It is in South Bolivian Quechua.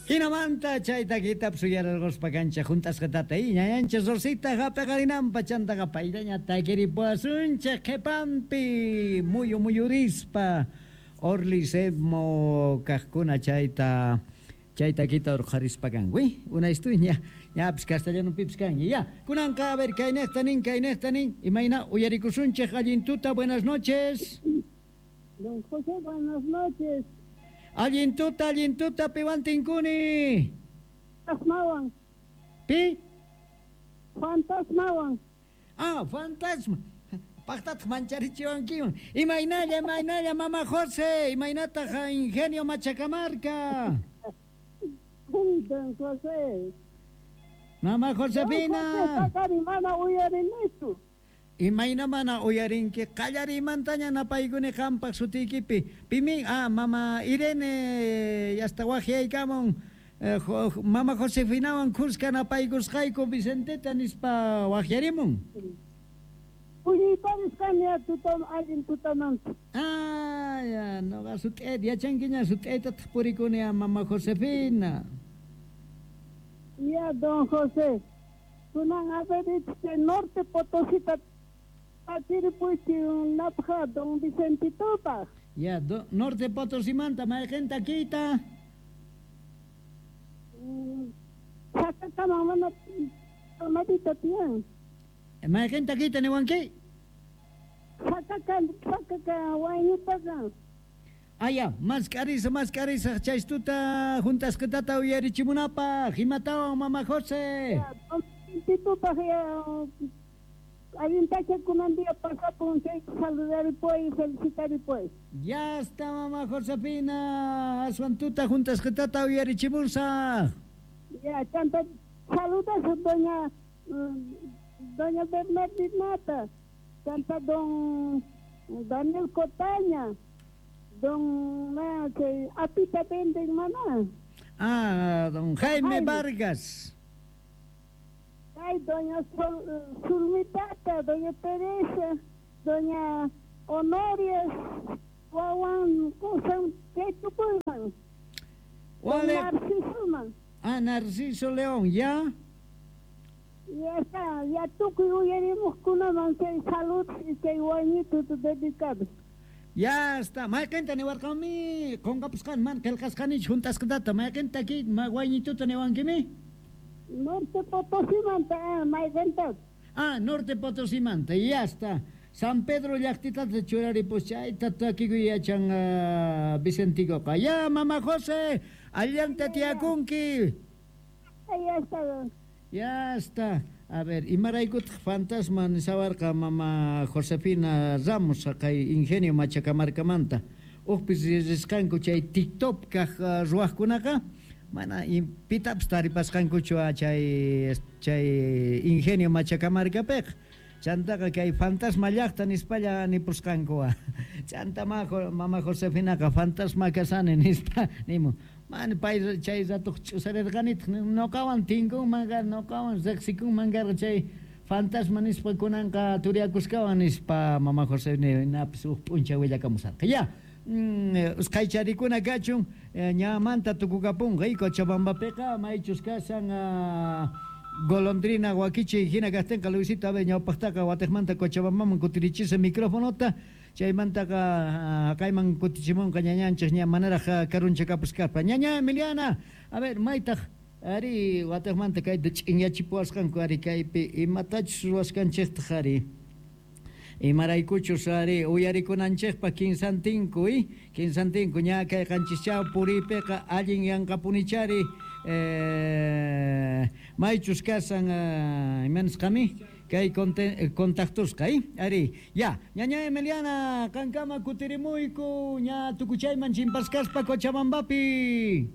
Jinamanta chay takitapis uyararqospa kanchej junt'asqatata y ñañanchej Rosita jap'eqarinanpa chantaqa payllaña takiripuwasunchej qhepanpi muyu muyurispa Orly Semo kajkuna chayta chay takita urqharispa kanku. Unaystuy ña ñapis castellanopipis kanña. Ya, kunanqa a ver kaynejta nin, kaynejta nin, imayna uyarikusunchej allin tuta, buenas noches. Don José, buenas noches. Allin tuta, piwan tinkuni. Fantasmawan. Pi? Fantasmawan. Ah, fantasma. Pajtataq mancharichiwankiman. Imaynalla, imaynalla, mama José, imaynataq Ingenio Machacamarca. Don José. Mama Josefina. Don José, mana uyarinichu. Imayna mana uyarinki qallariymantaña napaykuni qampaq sutiykipi. Pimin, ah, mama Irene, yasta waqyaykamun. Mama Josefinawan khuska napaykusqayku Vicenteta nispa waqyarimun. Puñuyparis kani tutam allin tutamanta. Ah, ya, noqa sut'ayta yachankiña sut'aytataq purikuni a mama Josefina. Ya, don José. Kunan a ver, Norte Potosita takiripuyki napja don Vicentitopaj. Ya, Norte Potosimanta mayqin takiyta? Chakakaman mana tomatita tiyan. Mayqin takiyta niwanki? Chakaka, chakaka wayñitaqa. Ah, ya, mask'arisa, mask'arisa chaystuta juntasqatata uyarichimunapaj. Imatawan, mama José? Ya, don Vicentitopaj ya allin tacha kunan día pasapun chay saludaripuy, felicitaripuy. Ya está, mama Josefina. Aswan tuta juntasqatata uyarichimusaj. Ya, chanta saludas doña doña Bernardinata, chanta don Daniel Cotaña, don chay apita venden mana. Ah, don Jaime, Jaime. Vargas. Ay, doña Zulmitata, doña Teresa, doña Honoria, wawan kusan chay tukuyman. Don Narcisoman. Ah, Narciso León, ya. Ya está, ya tukuy uyarimuqkunaman chay salud y chay wañito dedicado. Ya está, mayqinta niwarqanmi, qunqapusqan man qillqasqanichu juntasqatata, mayqinta ki wañituta niwankimi? Norte Potosimanta, mayqinta. Ah, Norte Potosimanta, ya está. San Pedro llaqtitata churaripus chayta takikuy yachan Vicenticoqa. Ya, mama José, allanta tiyakunki. Ya está. Ya está. A ver, imaraykutaq fantasma nisawarqa mama Josefina Ramos kay Ingenio Machacamarcamanta. Ujpis risqanku chay TikTok kaq ruwaqkunaqa mana pitapis taripasqankuchu chay chay Ingenio Machacamarcapiqa. Chantaqa kay fantasma llaqta nispalla nipusqanku. Chanta mama Josefinaqa fantasma kasani nispa nimun. Man pay chay ratuq ch'usarirqanitaq noqawan tinkunman karqa, noqawan riqsikunman karqa chay fantasma nispa kunanqa turiakuskawan nispa mama Josefinapis uj p'unchay willakamusarqa. Ya, usqhaycharikuna kachun ñamanta tukukapunqa Cochabambapiqa maychus kasan golondrina wakichi hina kajtinqa Luisito a ver ñawpaqtaqa watiqmanta Cochabambaman kutirichisa microfonota chaymantaqa kayman kutichimunqa ñañanchej ña manaraj karunchakapuskaspa. Ñaña Emiliana, a ver maytaq ari watiqmanta kayta ch'inyachipuwasqanku ari kaypi imatachus ruwasqanchejtaq ari imaraykuchus ari uyarikunanchejpa kinsantinku kinsantinku ña kay qanchischaw puriypiqa allin yanqapunichari maychus kasan imanisqami kay contactusqa ari ya ñaña Emiliana qankama kutirimuyku ña tukuchayman chimpaskaspa Cochabambapi.